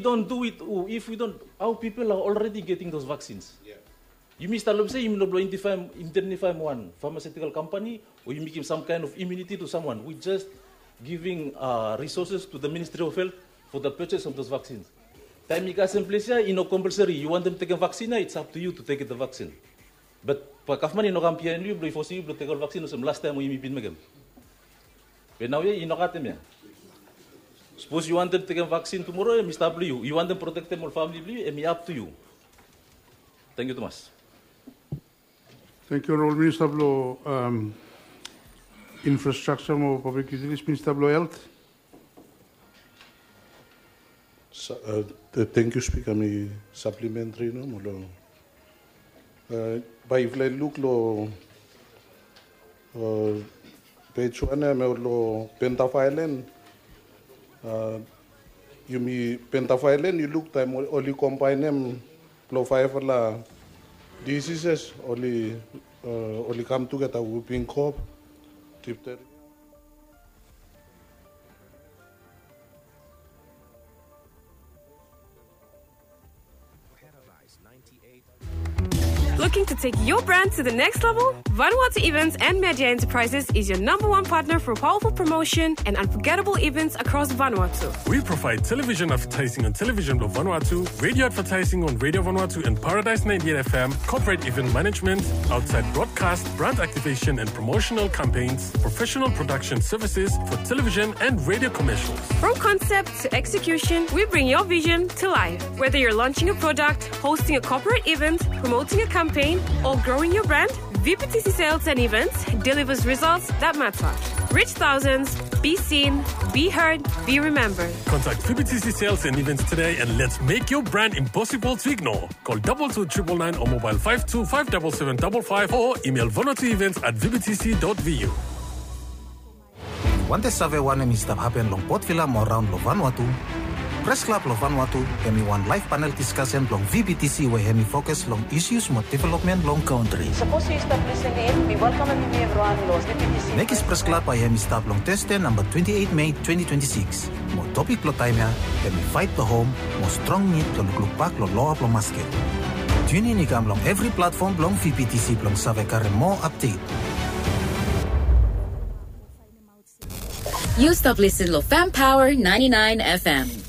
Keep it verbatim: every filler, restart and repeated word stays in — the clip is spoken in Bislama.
don't do it, if we don't, our people are already getting those vaccines. Yumi stap long se yumi no blo identify, identify wan pharmaceutical company o yumi give some kind of immunity to someone. We just giving uh, resources to the Ministry of Health for the purchase of those vaccines. Taim i kasem ples ya, i no compulsory. You want them taking vaccine, it's up to you to take the vaccine. But pa gavman i no kam behind you blo i force you blo take all vaccine olsem last time we yumi bin mekem. Be nau ya i no katem ya. Suppose you want them taking vaccine tomorrow, em i stap blo you. You want them protect them all family blo you, em i up to you. Thank you, Thomas. Thank you, Honorable Minister blo um, Infrastructure mo Public Utilities, Minister blo Health. Thank you, Speaker. Mi supplementary no mo long bae yufala i luk long page one ya mo long Pentaviral. Yumi Pentaviral, yu luk taem oli kombaenem blong faefala diseases oli oli kam tugeta, whooping cough, diphtheria. Looking to take your brand to the next level? Vanuatu Events and Media Enterprises is your number one partner for powerful promotion and unforgettable events across Vanuatu. We provide television advertising on Television Blue Vanuatu, radio advertising on Radio Vanuatu and Paradise ninety-eight F M, corporate event management, outside broadcast, brand activation and promotional campaigns, professional production services for television and radio commercials. From concept to execution, we bring your vision to life. Whether you're launching a product, hosting a corporate event, promoting a campaign, or growing your brand, V P T C Sales and Events delivers results that matter. Reach thousands, be seen, be heard, be remembered. Contact V P T C Sales and Events today and let's make your brand impossible to ignore. Call double two triple nine or mobile five two five double seven double five or email vanuatuevents at V P T C dot V U. Yu wantem save wanem i stap hapen long Port Vila mo raon long Vanuatu? Pres Klab long Vanuatu hemi wan laev panel diskasen blong V P T C we hemi fokus long isus mo developmen long kantri. Sapos yu stap lisin in, mi welkamem yumi evriwan long V P T C. Mekis Pres Klab bae hemi stap long Tasde namba twenti eit Mei twenti twenti sikis. Mo topik blong taem ya hemi Faet blong Hom mo Strong Nid blong Lukluk Bak long Loa blong Masket. Tiunin i kam long evri platfom blong V P T C blong save karem moa apdet. Yu stap lisin long Fam Power ninety-nine F M.